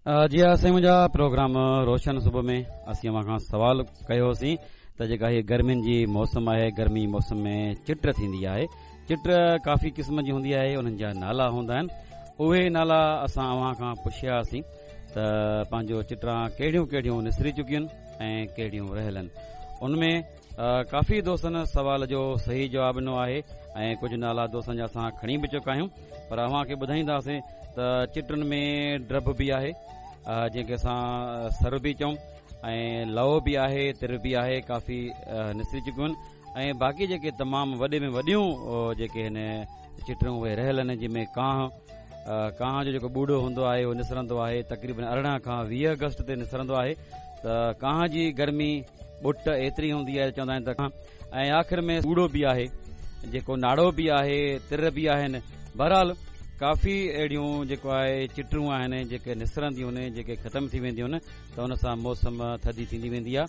جي ها سائين منهنجا پروگرام روشن صبح ۾ اسين اوهان کان سوال ڪيو هوسين ته جيڪا هي گرمين جي موسم آهي گرمي موسم ۾ چٽ ٿيندي آهي چٽ ڪافي قسم جي هوندي آهي انهن جا نالا هوندا آهن اهي نالا اسان اوهان کان پڇيا هئاسين ته پنهنجو چٽران ڪهڙيون ڪهڙيون نسري چڪيون آهن ۽ ڪهڙيون رهيل آهن ان ۾ ڪافي دوستن سوال جو صحيح جواب ڏنو آهي ۽ ڪجهه نالا دوستن جا اسان کڻي به چڪا آهيون پر اوهان کي ٻڌائينداسين ته چٽن ۾ ڊڀ به آهي جنهن کي اسان سر به چئون ۽ لئو به آهي تر به آهي ڪافي نسري چڪيون آهن ۽ باقي جيڪي تمام وڏي ۾ وڏيون جيڪي هن چٽرون اهي رهيل آهن جنهن ۾ ڪانه ڪانه جو جيڪو ٻوڙو هوندو آهي اهو نسرندو آهي تقريبن 18 کان 20 آگسٽ تي نسرندو آهي ته ڪانه جي گرمي ٻٽ ايتري هوندي آهي چوندا آهن ته ۽ آخر ۾ ٻوڙو به آهي جيڪو ناڙو به آهي تر به آهن بهرحال ڪافي اهڙيون جيڪو آهي چٽرون آهن جيڪي نسرنديون آهن جيڪي ختم ٿي وينديون آهن ته ان سان موسم ٿڌي ٿيندي ويندي آهي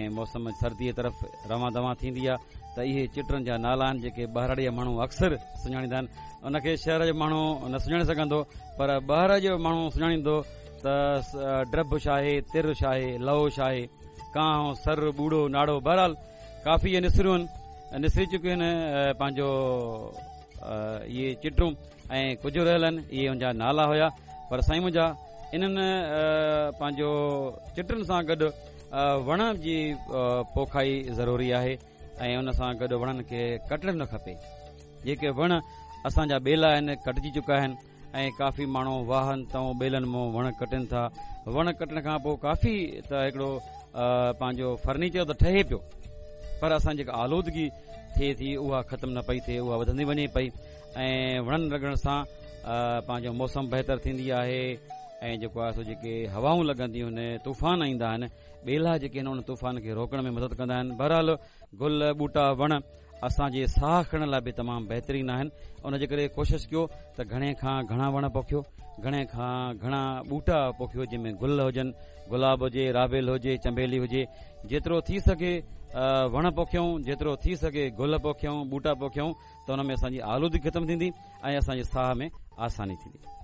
۽ موسم سردي طرف روان دوان ٿيندي آهي ته اهي چٽرن جا نالا آهن جيڪي ٻهراڙي جا ماڻهو اڪثر سڃاڻيندا آهن ان کي شهر جو ماڻهو نه سڃاڻي سگهندو پر ٻهراڙي جو ماڻهو سڃاڻيندو ته ڊڀ ڇا آهي تر ڇا آهي لئو ڇا آهي ڪانء سر ٻوڙو ناڙو بهرحال ڪافي اهي نسريون آهن نسري چڪيون آهن پنهنجو اهي چٽرون ۽ ڪجهه رهيل آهن اهي ان جا نالا هيا پر سائين منهنجا انهن پنهنجو چٽن سان گڏ وڻ جي پوکائي ضروري آهي ۽ ان سان گڏ وڻن کي ڪٽڻ نه کپي جيڪي وڻ اسان جا ٻيلا آهن ڪٽجي چڪا آهن ۽ ڪافي ماڻهو واهن تان ٻيلن مون وڻ ڪٽن ٿا وڻ ڪٽڻ کان پوء ڪافي ته هڪڙو پنهنجو فرنيچر ته ٺهي پيو پر اسان جيڪا آلودگي ٿئي ٿي اها ختم نه پئي ٿئي اها وڌندي وڃي پئي ۽ وڻن لڳڻ سان پنهنجو موسم بهتر ٿيندي آهي ۽ جيڪو آهي سو جيڪي هوائون لڳنديون آهن طوفان ايندا آهن ٻيلا جيڪي آهن ان طوفان کي روڪڻ ۾ مدد ڪندا آهن بهرحال گل ٻوٽا وڻ اسان جي ساهه کڻڻ لاء به تمام بهترين آهن ان جي ڪري ڪوشش ڪيو ته گهڻي کان گهڻا وڻ پوکيو گهڻي کان گهڻا ٻوٽا پوکيو جنهن ۾ گل هجن گلاب هجي رابيل هجي چنبيلي هجي جيترو ٿي سگهي وڻ پوکيون جيترو ٿي سگهي گل پوکيون ٻوٽا پوکيون ته ان ۾ اسان جي آلودگي ختم ٿيندي ۽ اسان جي ساهه ۾ آساني ٿيندي.